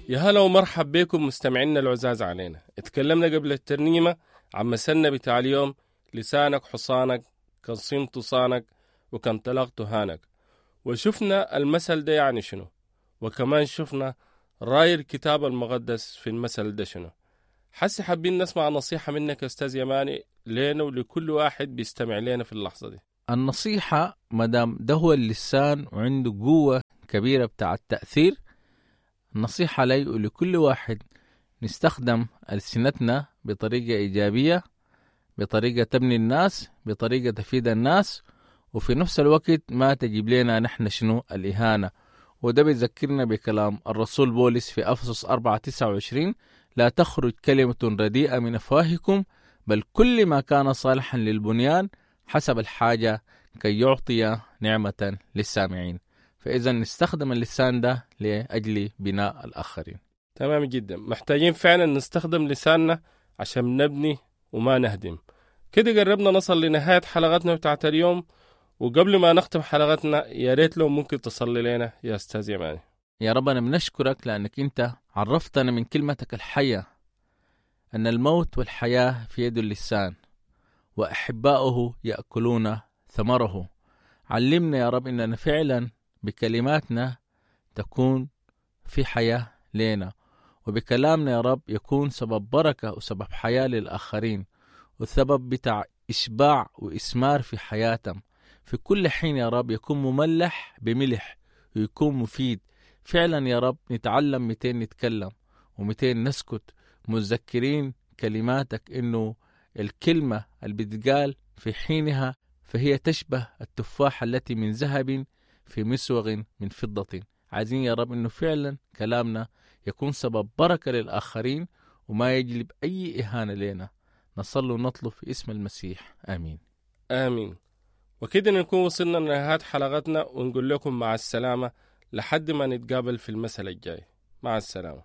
يا هلا ومرحب بكم مستمعينا العزاز علينا. اتكلمنا قبل الترنيمة عن مثلنا بتاع اليوم: لسانك حصانك، كان صمت صانك، وكان طلقت هانك. وشفنا المثل ده يعني شنو، وكمان شفنا راي الكتاب المقدس في المثل ده شنو. حسي حابين نسمع نصيحة منك يا أستاذ يماني لينا ولكل واحد بيستمع لنا في اللحظة دي. النصيحة مدام ده هو اللسان وعنده قوة كبيرة بتاع التأثير، النصيحة لي ولكل واحد نستخدم ألسنتنا بطريقة إيجابية، بطريقة تبني الناس، بطريقة تفيد الناس، وفي نفس الوقت ما تجيب لنا نحن شنو الإهانة. وده بيذكرنا بكلام الرسول بولس في أفسس 4:29: لا تخرج كلمة رديئة من أفواهكم، بل كل ما كان صالحا للبنيان حسب الحاجة كي يعطي نعمة للسامعين. فإذا نستخدم اللسان ده لأجل بناء الآخرين. تمام جدا، محتاجين فعلا نستخدم لساننا عشان نبني وما نهدم. كده قربنا نصل لنهاية حلقتنا بتاعت اليوم، وقبل ما نختم حلقتنا يا ريت لو ممكن تصلي لنا يا أستاذ يماني. يا رب أنا بنشكرك لأنك أنت عرفتنا من كلمتك الحية أن الموت والحياة في يد اللسان، وأحباؤه يأكلون ثمره. علمنا يا رب أننا فعلا بكلماتنا تكون في حياة لنا، وبكلامنا يا رب يكون سبب بركة وسبب حياة للآخرين، وسبب بتاع إشباع وإسمار في حياتهم في كل حين يا رب، يكون مملح بملح ويكون مفيد فعلا يا رب. نتعلم متين نتكلم ومتين نسكت، متذكرين كلماتك إنه الكلمة اللي بتقال في حينها فهي تشبه التفاحة التي من ذهب في مسوغ من فضة. عايزين يا رب إنه فعلا كلامنا يكون سبب بركة للآخرين وما يجلب أي إهانة لنا. نصلي ونطلب في اسم المسيح، آمين. آمين. وكده نكون وصلنا لنهاية حلقتنا، ونقول لكم مع السلامة لحد ما نتقابل في المثل الجاي. مع السلامة.